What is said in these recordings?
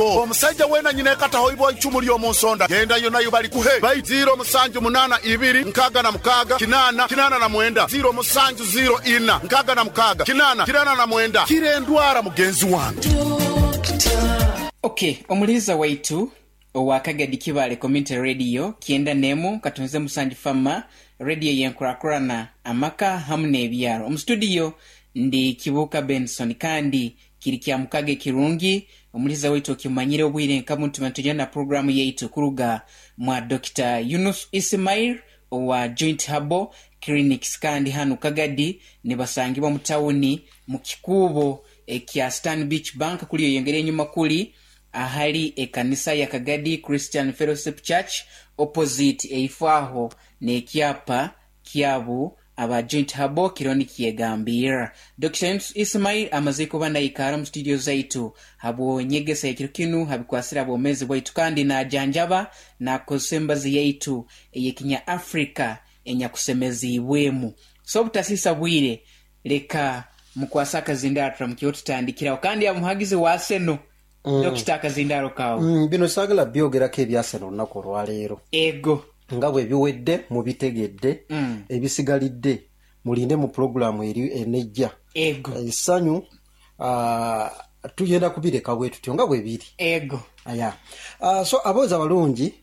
Omusaija weena nyineeka tahoibwa icumu ly'omu nsonda, genda yonayo balikuhe. Baitu 078 66 8 89, 0 7 0 4 6 8 89. Kira endwara mugenzi wange. Ok, omuliiza waitu owa Kagadi Kibaale Community Radio 91 katunze musanju Fama Radio y'enkurakurana amaka hamu n'ebyaro. Omu studio ndi Kibuuka Benson kandi Kiri kya mukago ekirungi omuliza waitu okimanyire obwire nka bunu tuba nitugenda na puroguramu yaitu kuruga mwa Dokita Yunus Ismail owa Joint Herbal Clinics kandi hanu Kagadi nibasangibwa mu tawuni mu kikuubo ekya Stanbic Bank kuli oyongera enyuma kuli ahali ekanisa ya Kagadi Christian Fellowship Church opposite eifo aho nekyapa kyabu aba Joint Herbal kiriho nikyegambirra. Dokita Yunus Ismail amazire kuba naikaara omu studio zaitu habw'enyegesa y'ekiro kinu habikwasire habwomezi bwaitu kandi najanjaba nakozesa emibazi yaitu ey'ekinya Africa enyakusemeziibwemu. So obutasiisa bwire leka mukwase akazindaaro turamukireho tutandikiraho kandi yaba muhagizi wa Arsenal. Dokita akazindaaro kaawe. Bino saagala byogerako ebya Arsenal olunaku olwaleero. Ego. Nga bwe biwedde mubitegedde, ebisigalidde mulinde mu pulogulaamu eri enejja. Ego. Essanyu tugenda kubireka bwe tutyo nga bwe biri. Ego. Aya. So aboozi abalungi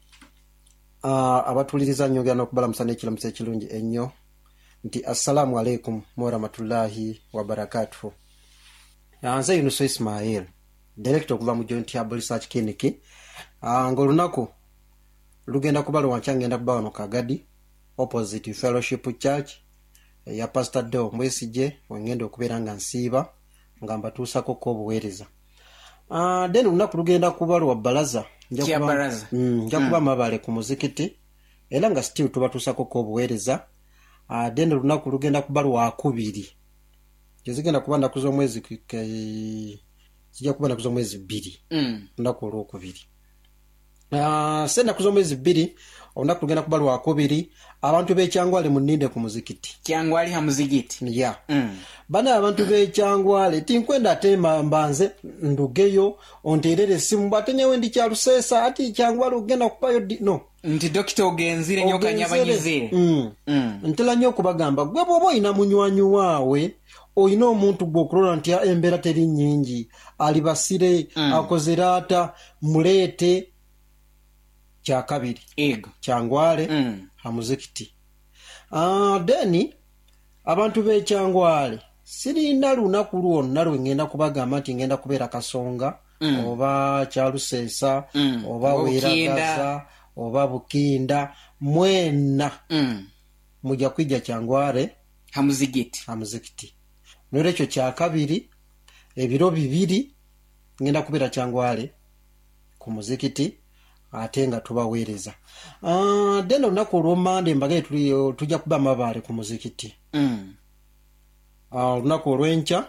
abatuwuliriza nnyongera n'okubalamusa n'ekiramuso ekirungi ennyo nti Assalaamu alaikum warahmatullahi wabarakatuhu. Nze Yunusu Ismail, Director okuva mu Joint Herbal Research Clinic, nga olunaku lugenda kuba lwankya ngenda kuba wano Kagadi opposite Fellowship Church eya Pastor Deo Mwesigye wengenda okubeera nga nsiiba nga mbatuusako ko obuweereza. Then olunaku lugenda kuba lwa balaza nja kuba, nja kuba Mabale ku muzikiti era nga still tubatuusako ko obuweereza. Then olunaku lugenda kuba lwakubiri tezigenda kuba nnaku z'omwezi zijja kuba nnaku z'omwezi bbiri olunaku olwokubiri. Se ennaku z'omwezi bbiri olunaku lugenda kuba lwakubiri abantu b'e Kyangwale munninde ku muzikiti. Kyangwale ha muzigiti. Ya. Banaye abantu b'e Kyangwale tinkwenda ate mbanze ndugeyo onteerere esimu mbu ate nyowe ndi Kyaluseesa ati Kyangwale ogenda kubayo ddi? No. Nti dokita ogenzire nyo okanyabanyizire. Ntera nyo okubagamba gwe bwoba olina munywanyi waawe olina omuntu gwe okurora nti embeera teri nyingi alibasire akozere ata muleete kyakabiri Kyangwale ha muzikiti. Then abantu b'e Kyangwale sirina lunaku lwonna lwe ngenda kubagamba nti ngenda kubeera Kasonga oba Kyaluseesa oba Weeragaza oba Bukinda mwena muja kwija Kyangwale ha muzigiti. Ha muzikiti. N'olwekyo kyakabiri ebiro bibiri ngenda kubeera Kyangwale ku muzikiti ate nga tubaweereza. Then olunaku olw'Omande mbagambye tujja kuba Mabaale ku muzikiti. Olunaku olw'enkya